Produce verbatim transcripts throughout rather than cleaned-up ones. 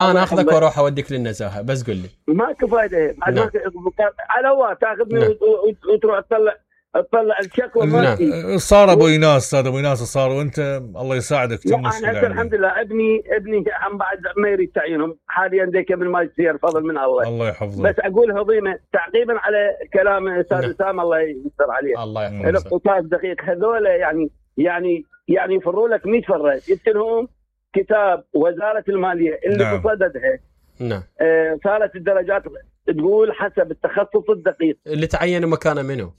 انا اخذك واروح اوديك للنزاهه بس قل لي ماكو فايده نعم. على هو تاخذني نعم. وتروح تطلع تطلع الشكوى نعم. صار ابو ايناس استاذ ابو ايناس صار وانت الله يساعدك تمس. انا الحمد لله ابني ابني عم بعد ما يريد تعيينهم حاليا ديك بالماجستير فضل من الله الله يحفظه. بس اقول هضيمه تعقيبا على كلام استاذ نعم. اسامه الله يستر عليه الله يحفظه. الاقتصاد دقيق هذول يعني يعني يعني يفروا لك مية فره يمكنهم كتاب وزاره الماليه اللي نعم. بصددها نعم آه صارت الدرجات تقول حسب التخصص الدقيق اللي تعينوا مكانه منه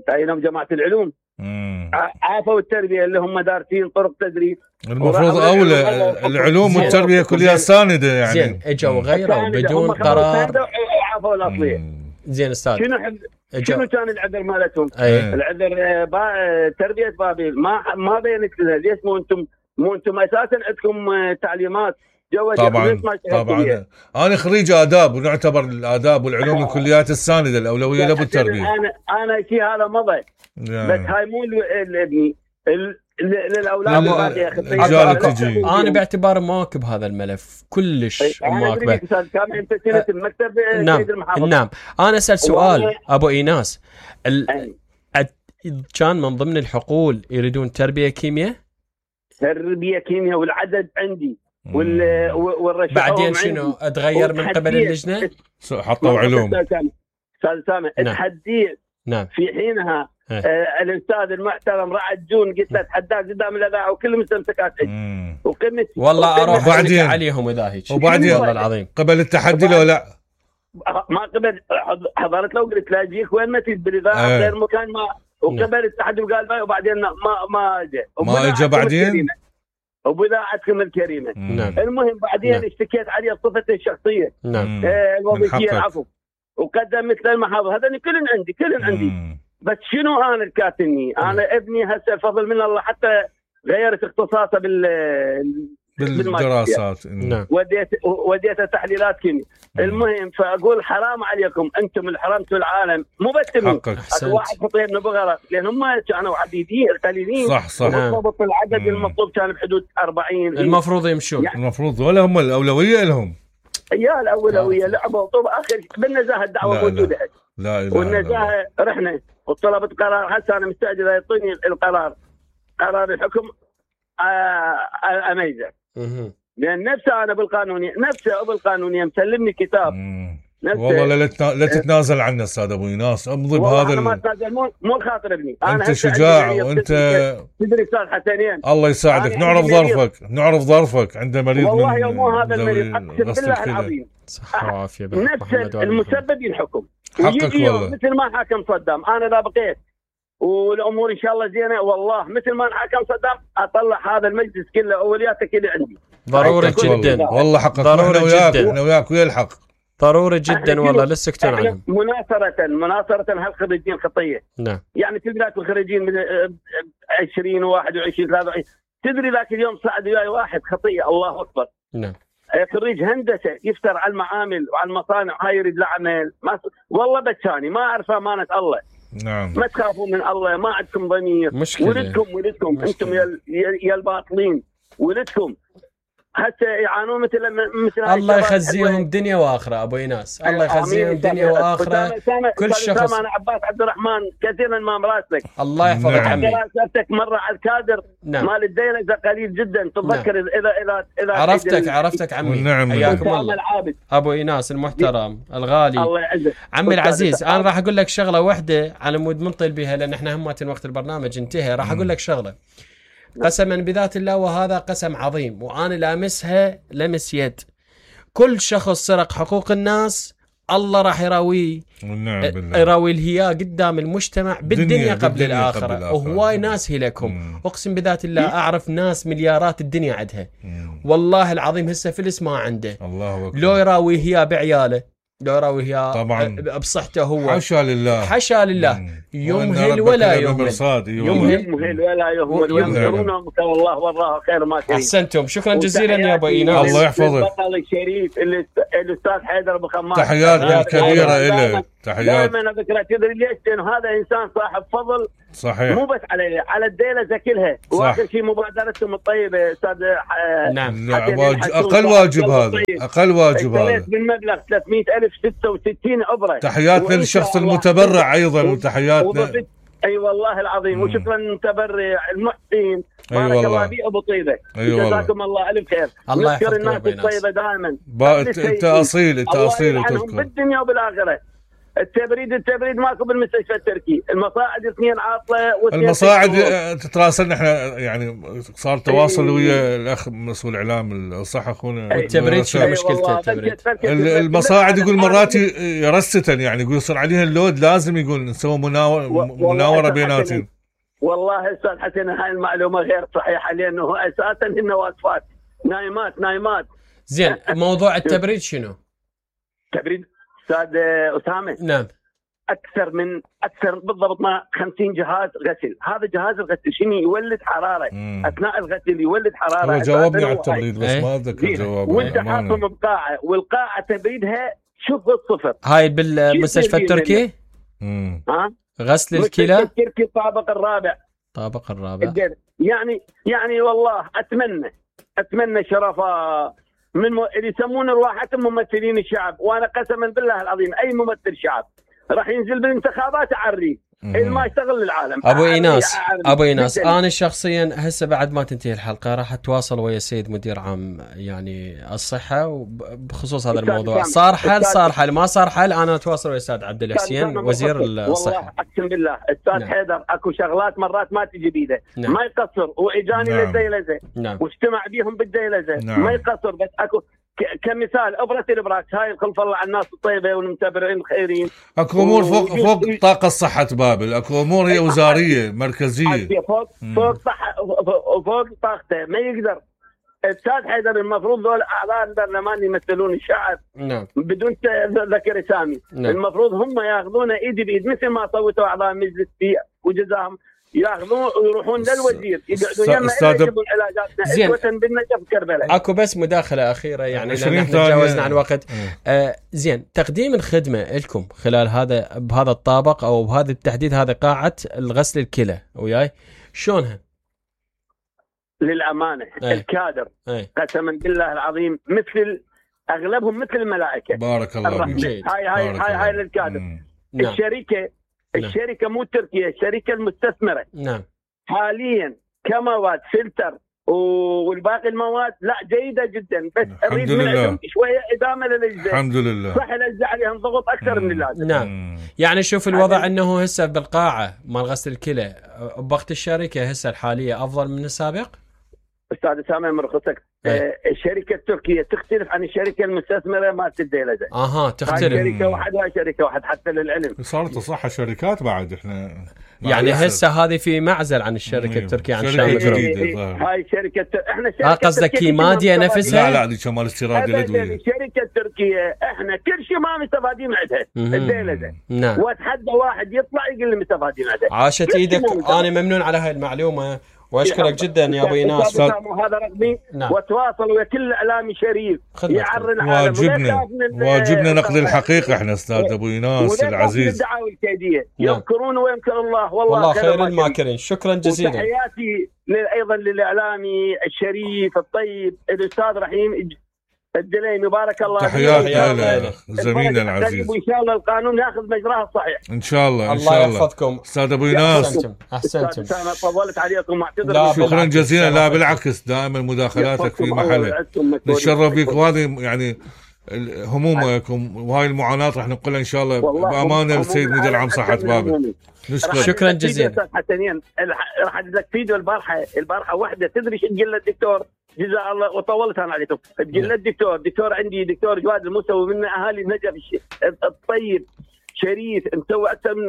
تعينوا جماعه العلوم امم عافوا التربيه اللي هم دارسين طرق تدريس المفروض اولى العلوم والتربيه كلها سانده يعني زين اجوا غيروا بدون قرار وعافوا الاصليه زين استاذ شنو حب... شنو كان العذر مالتهم؟ أيه. العذر با... تربيه بابيل ما ما بينت لها ليش مو انتم مو انتم اساسا عندكم تعليمات جو طبعا طبعا انا خريج اداب ونعتبر الاداب والعلوم الكليات السانده الاولويه لابو التربيه انا انا شيء هذا مضى بس هاي مو لابني للاولاد الباقي اخي انا باعتبار مواكب هذا الملف كلش مواكبه كان انت سنه المكتب نعم نعم انا اسال سؤال ابو ايناس ال... كان من ضمن الحقول يريدون تربيه كيمياء تربيه كيمياء والعدد عندي وال والرشاقه بعدين شنو اتغير من قبل اللجنه حطوا علوم استاذ سامع اتحديت نعم في حينها آه الاستاذ المحترم رعد جون قلت له اتحداك قدام الاذاعه وكل مستمسكات وقمت والله اروح وبعدين عليهم اذا هيك وبعدين والله العظيم قبل التحدي لو لا ما قبل حضرت له قلت له اجيك وين ما تريد بالاذاعه غير آه. مكان ما وقبل التحدي وقال باي وبعدين ما ما اجى ما اجى بعدين وبذاعتكم الكريمه نعم. المهم بعدين نعم. اشتكيت عليه بصفته الشخصيه نعم آه الوظيفيه العفو وقدم مثل المحافظ هذا كلن عندي كلن عندي بس شنو انا الكاتني انا مم. ابني هسه فضل من الله حتى غيرت اختصاصه بال بالدراسات نعم وديت وديته تحليلات كيمياء المهم فاقول حرام عليكم انتم اللي حرمتوا العالم مو بس واحد خطيب نبغى لان هم كانوا عديدين قليلين صح صح بالضبط العدد مم. المطلوب كان بحدود أربعين المفروض يمشون يعني المفروض ولا هم الاولويه لهم يا الاولويه لعبوا طب اخر بالنزاهه الدعوه لا موجوده لا لا والنزاهه رحنا وطلبت قرار هسه انا مستعجل يعطيني القرار قرار الحكم اميزه لان نفسه انا بالقانونيه نفسه بالقانونيه مسلمني كتاب والله لا لا تتنازل عنه استاذ ابو ايناس امضي بهذا انا ما اتنازل مو مو الخاطر ابني انت شجاع وانت تدري استاذ حسنين الله يساعدك نعرف ظرفك نعرف ظرفك عنده مريض والله من مو هذا المريض اقسم بالله العظيم صحه وعافيه نفس المسبب ينحكم حقك والله مثل ما حكم صدام انا لا بقيت والامور ان شاء الله زينه والله مثل ما حكم صدام اطلع هذا المجلس كله اولياته كله عندي ضروري جدا والله حقك ضروري جدا انا وياك ويا الحق ضروري جدا والله لا تسكتون عنهم مناصره مناصره هالخريجين خطيه نعم يعني تدري الخريجين من عشرين وواحد وعشرين ثلاثة وعشرين تدري ذاك اليوم صعد وياي واحد خطيه الله اكبر نعم خريج هندسه يفتر على المعامل وعلى المصانع هاي يريد العمل ما والله بتشاني ما اعرف امانه الله نعم ما تخافوا من الله ما عندكم ضمير ولدكم ولدكم انتم يا يا الباطلين ولدكم حتى يعانون مثل مثل الله يخزيهم دنيا واخره ابو ايناس الله يخزيهم دنيا واخره كل شخص انا عباس عبد الرحمن كثيرا ما مراسلك الله يحفظك نعم. عمي دراساتك مره على الكادر نعم. مال الديلة قليل جدا تتذكر نعم. اذا اذا اذا عرفتك عرفتك عمي نعم. حياكم الله ابو ايناس المحترم الغالي الله يعزك عمي العزيز انا راح اقول لك شغله واحده على مود منطل بها لان احنا همات وقت البرنامج انتهى راح اقول لك شغله قسما بذات الله وهذا قسم عظيم وانا لامسها لمس يد كل شخص سرق حقوق الناس الله راح يراويه نعم بالله يراوي الهياء قدام المجتمع بالدنيا قبل, قبل الآخرة وهواي ناس هلكهم اقسم بذات الله اعرف ناس مليارات الدنيا عندها والله العظيم هسه فلس ما عنده الله أكبر. لو يراوي هياء بعياله لو يراوي هياء طبعا بصحته هو حاشا لله حاشا لله يمهل ولا يهمل يمهل ولا يهمل يمهلون الله والله خير ما كان احسنتم شكرا جزيلا يا ابو ايناس الله يحفظك البطل الشريف الاستاذ حيدر ابو خمار تحياتنا الكبيره له تحيات. دائما اذكر تدري ليش؟ لانه هذا انسان صاحب فضل صحيح، مو بس على على الديلة كلها. واخر شيء مبادرتهم الطيبه استاذ. نعم واج... اقل واجب هذا، اقل واجب هذا بالمبلغ ثلاثمئة ألف ستة وستين ابره. تحياتنا للشخص المتبرع ايضا، وتحياتنا اي أيوة والله العظيم. وشكرا المتبرع المحسن، بارك أيوة الله بي ابو طيبه. أيوة جزاكم الله الف خير. الله نذكر يحفظكم الناس الطيبه دائما. انت اصيل، انت اصيل وتذكر بالدنيا وبالاخره. التبريد التبريد ماكو بالمستشفى التركي، المصاعد اثنين عاطله واثنين المصاعد تتراسلنا احنا، يعني صار تواصل ويا الاخ مسؤول اعلام الصحه اخونا. التبريد شنو مشكلته التبريد؟ المصاعد يقول مرات يرستن، يعني يقول يصير عليها اللود، لازم يقول نسوي مناوره بيناتهم. والله استاذ حسن هاي المعلومه غير صحيحه، لانه اساسا هن واقفات نايمات نايمات. زين موضوع التبريد شنو؟ تبريد استاذ اسامه، نعم اكثر من اكثر بالضبط ما خمسين جهاز غسل. هذا جهاز الغسل شنو يولد حراره مم. اثناء الغسل يولد حراره. هو جاوبني على التبريد بس ما اتذكر جوابه. وانت حاطهم بقاعه، والقاعه تبريدها شوف الصفر. هاي بالمستشفى التركي؟ امم ها غسل الكلى التركي الطابق الرابع. الطابق الرابع يعني يعني والله اتمنى اتمنى شرفاء من م... اللي يسمون رواحتهم ممثلين الشعب. وانا قسما بالله العظيم اي ممثل شعب راح ينزل بالانتخابات اعريه ما يشتغل للعالم. ابو ايناس ابو ايناس انا شخصيا هسه بعد ما تنتهي الحلقه راح اتواصل ويا السيد مدير عام يعني الصحه بخصوص هذا الموضوع. صار حل صار حل ما صار حل انا اتواصل ويا الاستاذ عبد الحسين وزير الصحه. والله اقسم بالله استاذ نعم. حيدر اكو شغلات مرات ما تجي بيده نعم. ما يقصر واجاني نعم. للديلزه نعم. واجتمع بيهم بالديلزه نعم. ما يقصر. بس اكو كمثال ابره الابراكس هاي خلف الله على الناس الطيبه والمتبرعين الخيرين. اكو امور فوق فوق طاقه صحه بابل، اكو امور هي وزاريه مركزيه فوق فوق صحه فوق طاقته ما يقدر. استاذ حيدر المفروض ذول اعضاء البرلمان يمثلون الشعب نعم بدون ذكر اسامي نعم. المفروض هم ياخذون ايد بايد مثل ما صوتوا اعضاء مجلس وجزاهم ياخذون ويروحون للوزير يقعدون يما يجيبون علاجاتنا اسوه بالنجف كربلاء. اكو بس مداخله اخيره يعني لان احنا تجاوزنا عن الوقت. آه زين تقديم الخدمه لكم خلال هذا بهذا الطابق او بهذا التحديد هذا قاعه الغسل الكلى وياي شلونها؟ للامانه أي. الكادر أي. قسما بالله العظيم مثل اغلبهم مثل الملائكه. بارك الله فيك. هاي هاي هاي هاي للكادر. نعم. الشركه الشركه مو تركيا، الشركه المستثمره نعم حاليا كمواد فلتر والباقي المواد لا جيده جدا. بس اريد منهم شويه ادامه للاجزاء. الحمد لله صح الاجزاء عليهم ضغط اكثر من اللازم. نعم يعني شوف الوضع انه هسه بالقاعه مال غسل الكلى بوقت الشركه هسه الحاليه افضل من السابق. استاذ اسامه من رخصتك آه الشركه التركيه تختلف عن الشركه المستثمره مالت الديلزه. اها تختلف. شركه واحد وهاي شركه واحد حتى للعلم. صارت صح شركات بعد احنا يعني هسه هذه في معزل عن الشركه التركيه عن شركه جديده. هاي شركه احنا شركه ها قصدك كيماديا نفسها؟ لا لا دي شمال استيراد الادويه. الشركه التركيه احنا كل شيء ما مستفادين عندها الديلزه. نعم. واتحدى واحد يطلع يقول لي مستفادين عندها. عاشت ايدك انا ممنون على هاي المعلومه واشكرك جدا يا ابو ايناس. هذا رقمي نعم. وتواصل ويا كل اعلامي شريف يعرّ العالم. واجبنا واجبنا نقد الحقيقه احنا استاذ ابو ايناس العزيز. الدعاوى الكيديه نعم. يذكرون ويمكر الله والله, والله خير الماكرين. شكرا جزيلا. وتحياتي ايضا للاعلامي الشريف الطيب الاستاذ رحيم الدليمي بارك الله فيك. تحياتي له زميلنا العزيز. وان شاء الله القانون ياخذ مجراه الصحيح ان شاء الله. ان شاء الله يحفظكم استاذ ابو ايناس. احسنتم احسنتم. انا طولت عليكم واعتذر. شكرا جزيلا. لا بالعكس دائما مداخلاتك في محلها نتشرف بك وهذه يعني همومكم وهاي المعاناه راح ننقلها ان شاء الله بامانه للسيد مدير عام صحه بابل. نشكر. شكرا جزيلا. حسنين راح ادز لك فيديو البارحه البارحه واحده تدري ايش تقول الدكتور جزاه الله وطولت انا عليكم. تقول الدكتور دكتور عندي دكتور جواد المسوي من اهالي النجف الطيب شريف مسوي اكثر من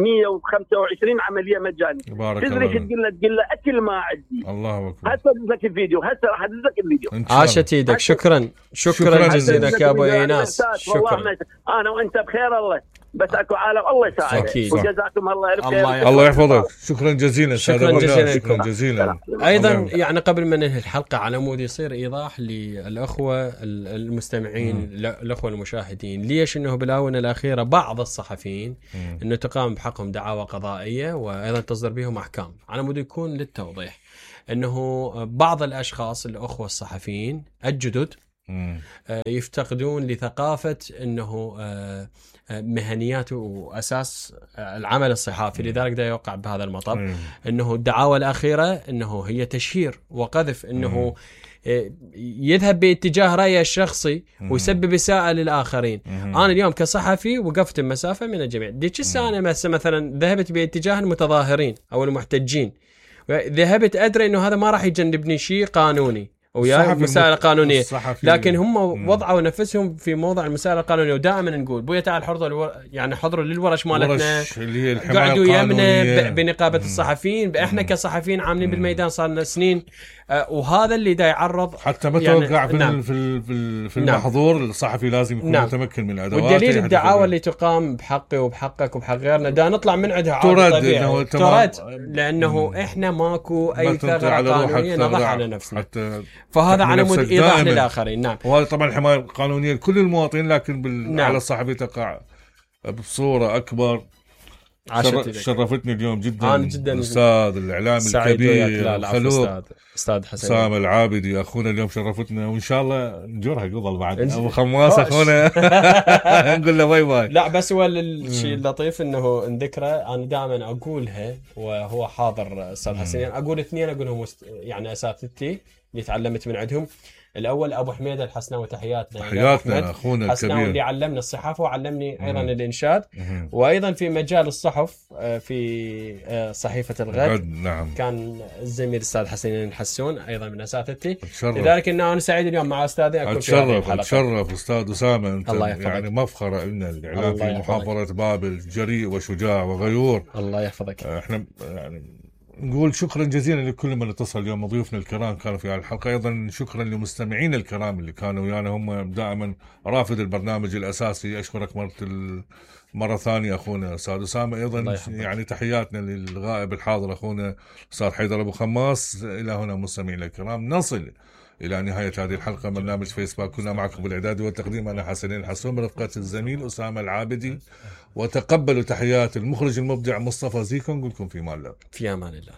مئة وخمسة وعشرين عمليه مجانيه. تدري ايش تقول له؟ تقول له اكل ما عندي. الله اكبر. هسه ادز لك الفيديو هسه راح ادز لك الفيديو. عاشت ايدك. شكرا شكرا جزيلا يا ابو ايناس. شكرا. انا وانت بخير الله بس اكو عالم الله يساعدك. وجزاكم الله الف خير. الله يحفظك. شكرا جزيلا شكرا جزيلا. شكرا جزيلا. ايضا يعني قبل ما ننهي الحلقه على مود يصير ايضاح للاخوه المستمعين الاخوه المشاهدين ليش انه بالاونه الاخيره بعض الصحفيين انه تقام بحقهم دعاوى قضائيه وايضا تصدر بهم احكام، على مود يكون للتوضيح انه بعض الاشخاص الاخوه الصحفيين الجدد يفتقدون لثقافه انه مهنيات واساس العمل الصحافي، لذلك دا يوقع بهذا المطب انه الدعاوى الاخيره انه هي تشهير وقذف، انه يذهب باتجاه رأيه الشخصي ويسبب إساءة للآخرين. أنا اليوم كصحفي وقفت بمسافة من الجميع، ديك السنة مثلا ذهبت باتجاه المتظاهرين أو المحتجين، ذهبت أدري أنه هذا ما راح يجنبني شيء قانوني ويا مسائل قانونية، لكن هم وضعوا نفسهم في موضع المسائل القانونية. ودائما نقول بويا تعال حضروا الور... يعني حضروا للورش مالتنا، قعدوا يمنا بنقابة الصحفيين، احنا كصحفيين عاملين بالميدان صار لنا سنين، آه وهذا اللي دا يعرض حتى ما توقع يعني في نعم. في في المحظور نعم. الصحفي لازم يكون نعم. متمكن من الادوات. والدليل الدعاوى اللي تقام بحقي وبحقك وبحق غيرنا دا نطلع من عندها عادي طبيعي ترد، لانه مم. احنا ماكو اي ثغره قانونيه نضع على نفسنا، فهذا على مود ايضاح للاخرين. نعم. وهذا طبعا الحمايه القانونيه لكل المواطنين، لكن بال... نعم. على الصحفي تقع بصوره اكبر. شر... شرفتني اليوم جدا أنا جدا الاستاذ الاعلامي الكبير الخلوق استاذ حسين سام العابدي اخونا اليوم شرفتنا، وان شاء الله نجرها قبل بعد ابو خماس اخونا نقول له باي باي. لا بس هو الشيء اللطيف انه نذكره، انا دائما اقولها وهو حاضر استاذ حسين، اقول اثنين اقولهم مست... يعني اساتذتي اللي تعلمت من عندهم. الاول ابو حميد الحسناوي، تحياتنا تحياتنا اخونا الكبير اللي علمنا الصحافه وعلمني ايضا الانشاد، وايضا في مجال الصحف في صحيفه الغد نعم. كان الزميل الاستاذ حسين الحسون ايضا من اساتذتي، لذلك ان انا سعيد اليوم مع استاذي اكون في هذه الحلقه. اتشرف استاذ اسامه، انت يعني مفخره لنا الاعلام في محافظه بابل، جريء وشجاع وغيور. الله يحفظك. احنا يعني نقول شكرا جزيلا لكل من اتصل اليوم، ضيوفنا الكرام كانوا في الحلقه، ايضا شكرا لمستمعين الكرام اللي كانوا ويانا، هم دائما رافد البرنامج الاساسي. اشكرك مره مره ثانيه اخونا استاذ اسامه، ايضا يعني تحياتنا للغائب الحاضر اخونا استاذ حيدر ابو خماس. الى هنا مستمعينا الكرام نصل الى نهايه هذه الحلقه من برنامج فيسبوك، كنا معكم بالاعداد والتقديم انا حسنين الحسون برفقه الزميل اسامه العابدي، وتقبلوا تحيات المخرج المبدع مصطفى زيكو. نقول لكم في امان الله. في امان الله.